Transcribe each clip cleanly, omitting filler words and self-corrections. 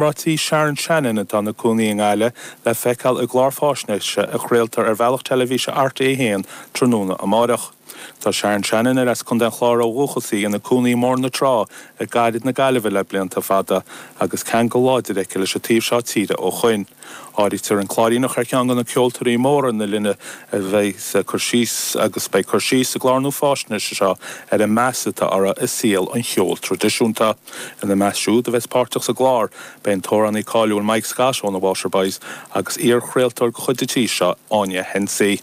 Iomráití Sharon Shannon, atá ina cónaí i nGaillimh, le feiceáil i gclár fáisnéise a chraoltar ar bhealach teilifíse RTÉ 1 tráthnóna amáireach. Tá Sharon Shannon, ar as Contae an Chláir ó dhúchas í, ina cónaí i mBóthar na Trá i gcathair na Gaillimhe le blianta fada agus ceangal láidir aici leis an taobh seo tíre ó shoin. Áirítear an Cláiríneach ar cheann de na ceoltóirí móra na linne a bheidh ag cur síos agus beidh cur síos sa gclár nua fáisnéise seo ar an meas atá uirthi i saol an cheoil traidisiúnta. Ina measc siúd a bheas páirteach sa gclár, beidh an t-amhránaí cáiliúil Mike Scott ó na Waterboys agus iar-chraoltóir de chuid an tí seo, Áine Hensey.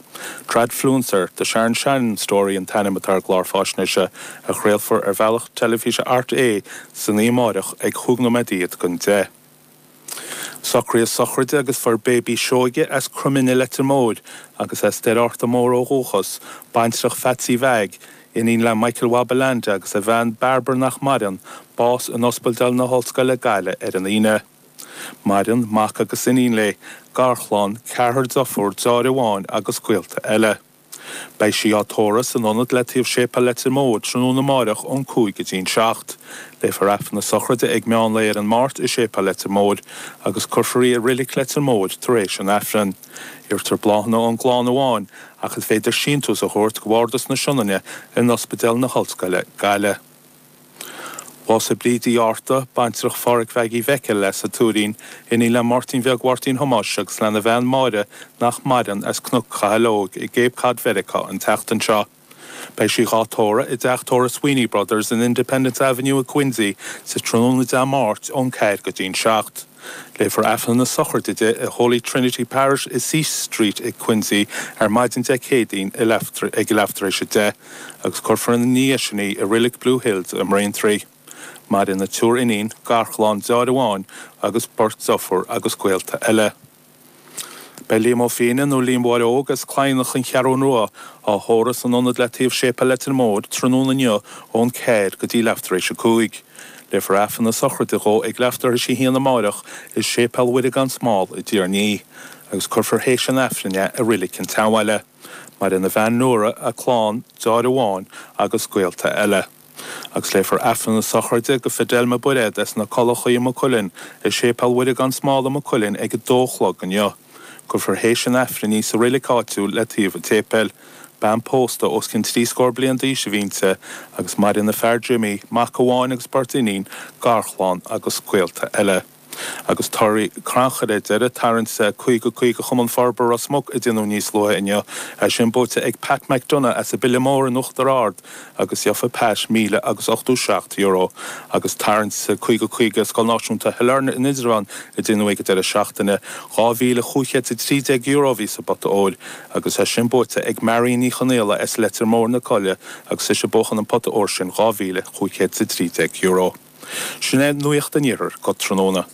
Tradfluencer, The Sharon Shannon Story an t-ainm atá ar an gclár fáisnéise a chraolfar ar bhealach teilifíse RTÉ san oíche amáireach ag chúig nóiméad fhichead don deich. Socraíodh a sochraide agus fuair Baby Seoige as Croimine Leitir Móir agus as Doire Fhatharta Mór ó dhúchas, baintreach Pheatsaí Mheaig, iníon le Michael Mhaba Leainde agus a bhean Bairbre nach maireann, bás in Ospidéal na hOllscoile Gaillimh ar an Aoine. Maireann mac agus iníon léi, garchlann, ceathrar deirfiúr, deartháir amháin agus gaolta eile. Beidh sí á tórramh san ionad le taobh Séipéal Leitir Móir tráthnóna amáireach ón 5 go dtí'n 7. Léifear Aifreann na sochraide ag meán lae ar an Máirt i Séipéal Leitir Móir agus cuirfear í i Reilig Leitir Móir tar éis an Aifrinn. Iarrtar bláthanna ón gclann amháin ach is féidir síntiús a thabhairt go Bhardas na Sionainne in Ospidéal na hOllscoile, Gaillimh. Bhásaigh Bríd Uí Fhátharta, baintreach Phádhraic Mheaigí Mhicil as an Tuairín, iníon le Máirtín Bheag Mháirtín Thomáis agus lena bhean Máire nach maireann as Cnoc Chathail Óig i gCape Cod Mheiriceá an tseachtain seo. Beidh sí dhá tórramh i dteach tórraimh Sweeney Brothers in Independence Avenue i Quincy sa tráthnóna Dé Máirt ón 4 go dtí'n 7. Léifear Aifreann na sochraide di i Holy Trinity Parish i C Street i Quincy ar maidin Dé Céadaoin ag leath tar éis 10 agus cuirfear ina ndiaidh sin í i Reilig Blue Hills i mBraintree. Maireann a triúr iníon, garchlann, deartháir amháin agus beirt deirfiúr agus gaolta eile. Beidh Liam Ó Fiaine nó Liam Mháire Óg as Cladhnach an Cheathrún Rua á thórramh san ionad le taobh Séipéal Leitir Móir tráthnóna inniu ón 4 go dtí leath tar éis 5. Léifear Aifreann na sochraide dhó ag leath tar éis a haon amáireach i Séipéal Mhuire gan Smál i dTír an Fhia agus cuirfear théis an Aifrinn é i Reilig an tSeanbhaile. Maireann a bhean Nóra, a clann, deartháir amháin agus gaolta eile. Agus léifear Aifreann na sochraide do Fidelma Bairéad as na Culachaí i Maigh Cuilinn i Séipéal Mhuire gan Smál i Maigh Cuilinn ag a dó a chlog inniu. Cuirfear théis an Aifrinn í sa reilig áitiúil le taobh an tséipéil. Bean pósta os cionn trí scór bliain d'aois a bhí inti agus maireann a fear Jimmy, mac amháin agus beirt iníon, garchlann agus gaolta eile. Agus torthaí crannchuir ar deireadh, tarraingt 50 50 Chumann Forbartha Ros Muc a déanadh níos luaithe inniu, é sin buaite ag Pat McDonagh as an Bhile Mór in Uachtar Ard agus gheofa Pat €1,087. Agus tarraingt 50 50 Scoil Náisiúnta Shailearna in Indreabhán a déanadh ag an deireadh seachtaine, €2,513 a bhí sa bpota óir agus é sin buaite ag Marion Ní Chonaola as Leitir Móir na Coille agus ise a bhuachan an pota óir sin, €2,513. Sin é nuacht an Iarthair go tráthnóna.